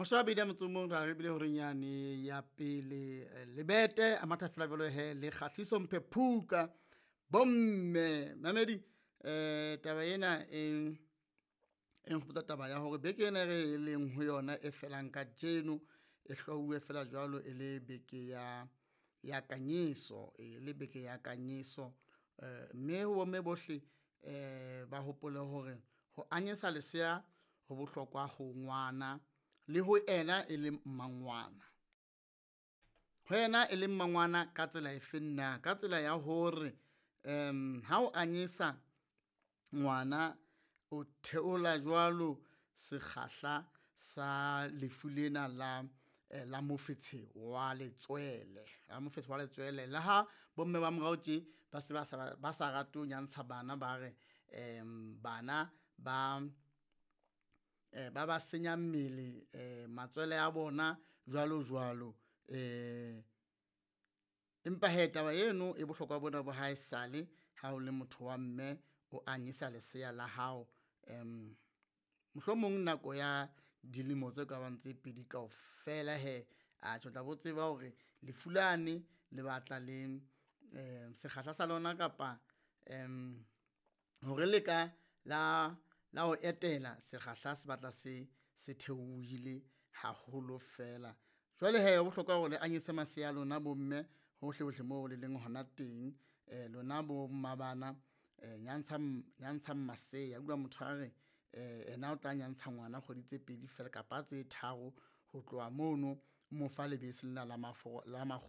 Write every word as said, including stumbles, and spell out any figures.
Mashome a mabedi a motso o mong ra re bile horeng yane ya pele eh, lebete a matha fela jwalo he le kgahliso Mphephuka bomme mamedi eh taba ena e e nkgopotsa taba ya hore beke ena e re leng ho yona e felang kajeno e hlwauwe fela jwalo e le beke ya ya kanyeso e le beke ya kanyeso. Eh mme ho bomme bohle eh ba hopole hore ho anyesa lesea ho bohlokwa ho ngwana le ho ena e leng mmangwana. Ho yena e leng mmangwana ka tsela efeng na? Ka tsela ya hore um ha o anyesa ngwana o theola jwalo sekgahla sa lefu lena la la mofetshe wa letswele, la mofetshe wa letswele. Le ha bomme ba morao tje ba se ba sa ba sa rate ho nyantsha bana, ba re bana ba ba ba senya mmele matswele a bona jwalo jwalo. Empa hee taba eno e bohlokwa bona ba haesale ha o le motho wa mme o anyesa lesea la hao mohlomong nako ya dilemo tse kabang tse pedi kaofela hee, atjhe o tla bo tseba hore lefu lane le batla le sekgahla sa lona kapa hore le ka la la o etela sekgahla se batla se se theohile haholo fela. Jwale hee ho bohlokwa hore le anyese masea a lona bomme hohle hohle moo le leng hona teng. Lona bo mmabana nyantshang, nyantshang masea. Utlwa motho a re ena o tla nyantsha ngwana kgwedi tse pedi fela kapa tse tharo, ho tloha mono o mo fa lebese lena la la .